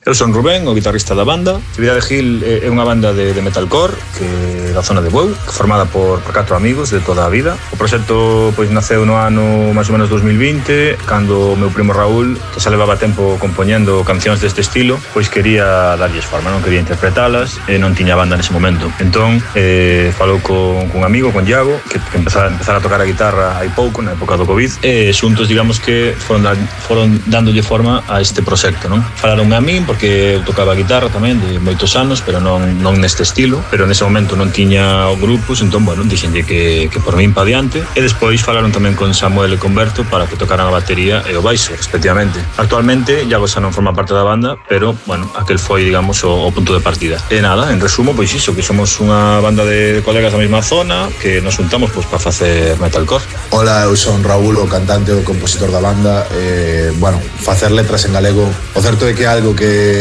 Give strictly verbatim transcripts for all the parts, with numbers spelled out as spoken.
Eu son Rubén, o guitarrista da banda. Actividade Gil é unha banda de, de metalcore que da zona de Bueu, formada por, por catro amigos de toda a vida. O proxecto pois naceu no ano máis ou menos dos mil vinte, cando o meu primo Raúl, que xa levaba tempo compoñendo cancións deste estilo, pois quería darlles forma, non quería interpretalas e non tiña banda nese momento. Entón, eh, falou con, con un amigo, con Iago, que, que empezara, empezara a tocar a guitarra hai pouco, na época do Covid, e xuntos, digamos que foron, da, foron dándolle forma a este proxecto, non? Falaronme a min, porque eu tocaba a guitarra tamén de moitos anos, pero non, non neste estilo, pero nese momento non tiña grupos, entón, bueno, dixenlle que, que por min pa diante, e despois falaron tamén con Samuel e con Berto para que tocaran a batería e o baixo, respectivamente. Actualmente, Iago xa non forma parte da banda, pero, bueno, aquel foi, digamos, o, o punto de partida. E nada, en resumo, pois iso, que somos unha banda de colegas da mesma zona, que nos juntamos pois para facer metalcore. Hola, eu son Raúl, o cantante e o compositor da banda. Eh, bueno, facer letras en galego, o certo é que é algo que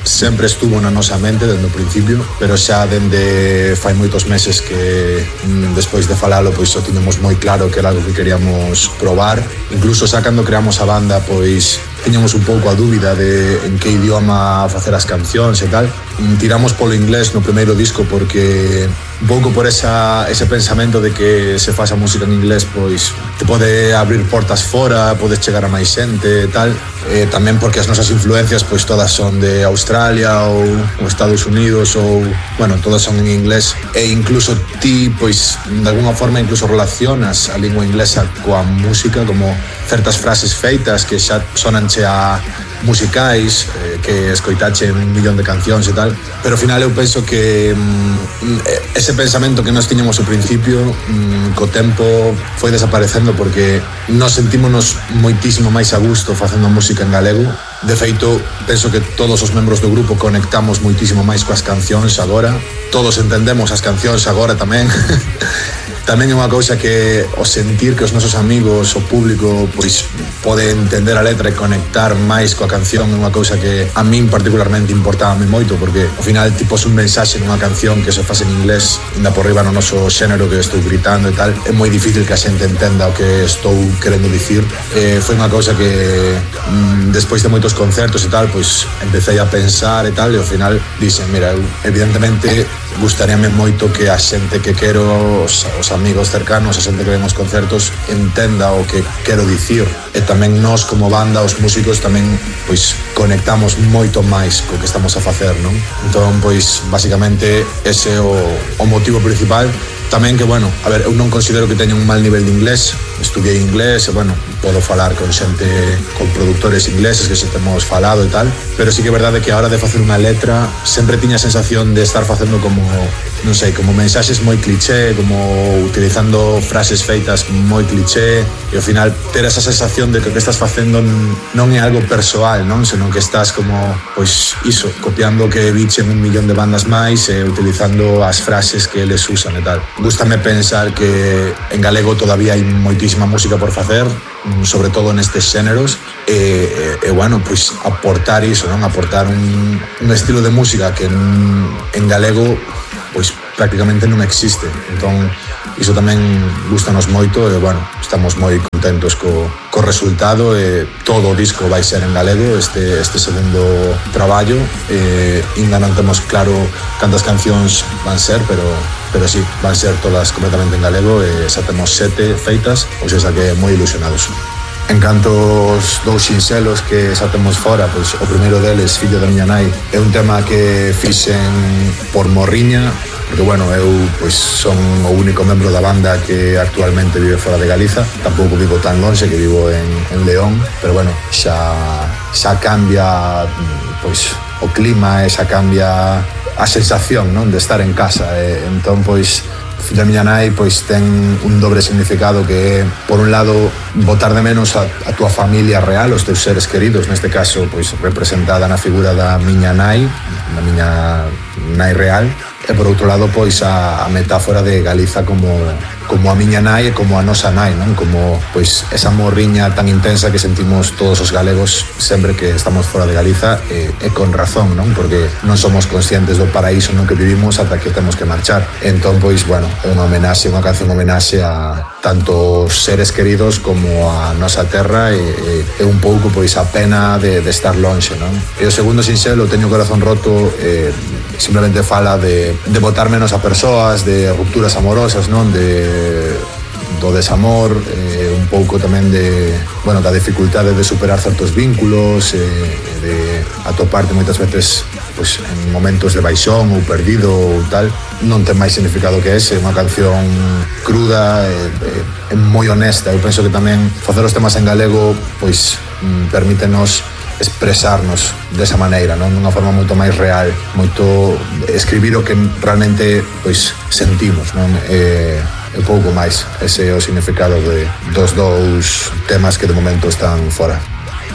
sempre estuvo na nosa mente dende o principio, pero xa dende fai moitos meses que mm, despois de falalo, pois o tiñamos moi claro que era algo que queríamos probar. Incluso xa cando creamos a banda, pois tiñamos un pouco a dúbida de en que idioma facer as cancións e tal. Tiramos polo inglés no primeiro disco porque un pouco por esa, ese pensamento de que se faz a música en inglés pois te pode abrir portas fora, podes chegar a máis xente e tal. E tamén porque as nosas influencias pois todas son de Australia ou, ou Estados Unidos ou, bueno, todas son en inglés, e incluso ti pois de alguna forma incluso relacionas a lingua inglesa coa música, como certas frases feitas que xa sonanche a musicais, eh, que escoitache un millón de cancións e tal, pero ao final eu penso que mm, ese pensamento que nos tiñamos ao principio mm, co tempo foi desaparecendo, porque nos sentímonos moitísimo máis a gusto facendo música en galego. De feito, penso que todos os membros do grupo conectamos moitísimo máis coas cancións agora, todos entendemos as cancións agora tamén. Tamén é unha cousa que o sentir que os nosos amigos, o público, pois pode entender a letra e conectar máis coa canción é unha cousa que a min particularmente importábame moito, porque ao final tipo un mensaxe nunha canción que se faz en inglés, ainda por riba no noso xénero que estou gritando e tal, é moi difícil que a xente entenda o que estou querendo dicir. Eh, foi unha cousa que mm, despois de moitos concertos e tal, pois empecé a pensar e tal, e ao final dixen, mira, eu evidentemente gustaríame moito que a xente que quero, os, os amigos cercanos, a xente que ven os concertos, entenda o que quero dicir. E tamén nós como banda, os músicos, tamén pois conectamos moito máis co que estamos a facer, non? Entón, pois, basicamente, ese é o, o motivo principal. Tamén que, bueno, a ver, eu non considero que teña un mal nivel de inglés, estudiei inglés e, bueno, podo falar con xente, con produtores ingleses que xa temos falado e tal, pero sí que é verdade que a hora de facer unha letra sempre tiña a sensación de estar facendo como, non sei, como mensaxes moi cliché, como utilizando frases feitas moi cliché, e ao final ter esa sensación de que o que estás facendo non é algo persoal, non? Senón que estás como, pois, iso, copiando o que vichen un millón de bandas máis e utilizando as frases que eles usan e tal. Gústame pensar que en galego todavía hai moitísima música por facer, sobre todo nestes xéneros, e, e, e bueno, pois aportar iso, non? Aportar un, un estilo de música que en, en galego pois prácticamente non existe. Entón, iso tamén gustanos moito e, bueno, estamos moi contentos co, co resultado, e todo o disco vai ser en galego, este, este segundo traballo. E ainda non temos claro cantas cancións van ser, pero pero sí, van ser todas completamente en galego, e xa temos sete feitas, ou seja que moi ilusionados. En canto aos dous sinxelos que xa temos fora, pois o primeiro deles, Fillo da miña nai, é un tema que fixen por morriña, porque, bueno, eu pois son o único membro da banda que actualmente vive fora de Galiza, tampouco vivo tan lonxe, que vivo en, en León, pero, bueno, xa, xa cambia pois o clima, e xa cambia a sensación, non, de estar en casa. E entón, pois, Fillo da miña nai pois ten un dobre significado, que é, por un lado, botar de menos a, a tua familia real, os teus seres queridos, neste caso, pois, representada na figura da miña nai, da miña nai real, e por outro lado, pois, a, a metáfora de Galiza como, como a miña nai e como a nosa nai, non? Como pois esa morriña tan intensa que sentimos todos os galegos sempre que estamos fora de Galiza e, e con razón, non? Porque non somos conscientes do paraíso no que vivimos ata que temos que marchar. Entón, pois, bueno, é unha homenaxe, unha canción homenaxe a tanto os seres queridos como a nosa terra e, e, e un pouco, pois, a pena de, de estar lonxe, non? E o segundo sinxelo, Teño o corazón roto, eh, simplemente fala de, de botar menos a persoas, de rupturas amorosas, non? De, do desamor, eh, un pouco tamén de, bueno, da dificultade de superar certos vínculos, eh, de atoparte moitas veces pois, en momentos de baixón ou perdido ou tal. Non ten máis significado que ese, unha canción cruda e, e, e moi honesta. Eu penso que tamén facer os temas en galego pois permítenos expresarnos desa maneira, non? Dunha forma moito máis real, moito escribir o que realmente pois sentimos, non? E, e pouco máis. Ese é o significado de, dos dous temas que de momento están fora.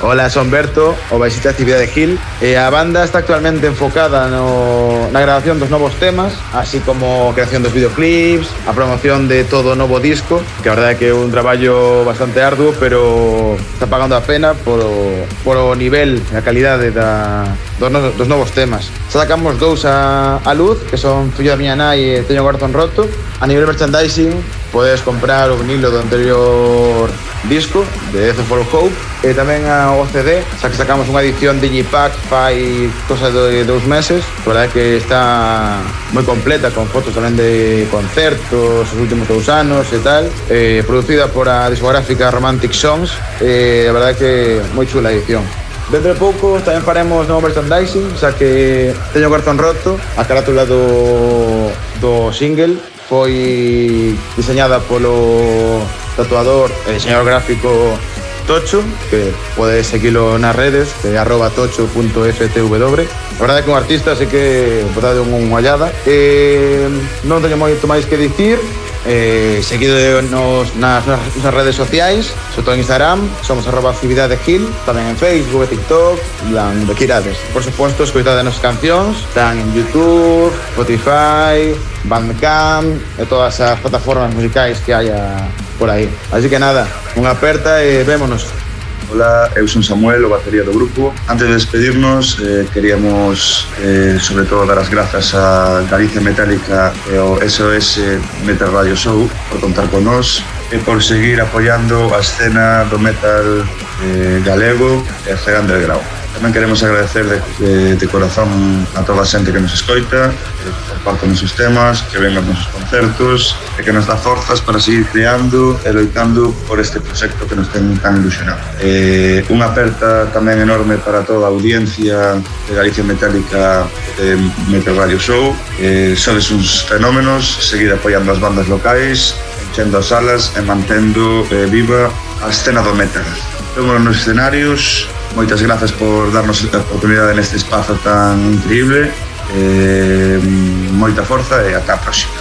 Hola, son Berto, o baixista de Cibida de Gil, e a banda está actualmente enfocada no, na grabación dos novos temas, así como a creación dos videoclips, a promoción de todo o novo disco, que a verdade é que é un traballo bastante arduo, pero está pagando a pena por o, por o nivel e a calidade da, dos, no, dos novos temas. Sacamos dous a, a luz, que son Fillo da miña nai e Teño o corazón roto. A nivel merchandising, podes comprar o vinilo do anterior disco de F for Hope e tamén a O C D, xa que sacamos unha edición Digipack fai cosa de dous meses. A verdade é que está moi completa, con fotos tamén de concertos os últimos dous anos e tal, eh, producida por a discográfica Romantic Songs, e a verdade é que moi chula a edición. Dentro de pouco tamén faremos novo merchandising, xa que Teño o corazón roto, a carátula do, do single foi diseñada polo tatuador e diseñador gráfico Tocho, que podes seguilo nas redes, que é arroba tocho punto f t w. A verdade é que un artista, así que botade unha ollada. E non teño moito máis que dicir. Eh, seguido nos, nas, nas redes sociais, sobre todo en Instagram, somos arroba Cibida de Gil, tamén en Facebook e TikTok, lan de quirades. Por suposto, escoitade as nosas cancións, están en YouTube, Spotify, Bandcamp e todas as plataformas musicais que haya por aí. Así que nada, unha aperta e vémonos. Hola, eu son Samuel, o batería do grupo. Antes de despedirnos, eh, queríamos eh, sobre todo dar as grazas a Galicia Metálica e ao S O S Metal Radio Show por contar con nós e por seguir apoiando a escena do metal eh, galego e a cega underground. Tamén queremos agradecer de, de, de corazón a toda a xente que nos escoita, que comparte os nosos temas, que venga aos nosos concertos e que nos dá forzas para seguir creando e loitando por este proxecto que nos ten tan ilusionado. Eh, unha aperta tamén enorme para toda a audiencia de Galicia Metálica de Metal Radio Show. Eh, sodes uns fenómenos, seguir apoiando as bandas locais, enchendo as salas e mantendo eh, viva a escena do metal. Vémonos nos escenarios. Moitas grazas por darnos a oportunidade neste espazo tan increíble. Eh, moita forza e ata a próxima.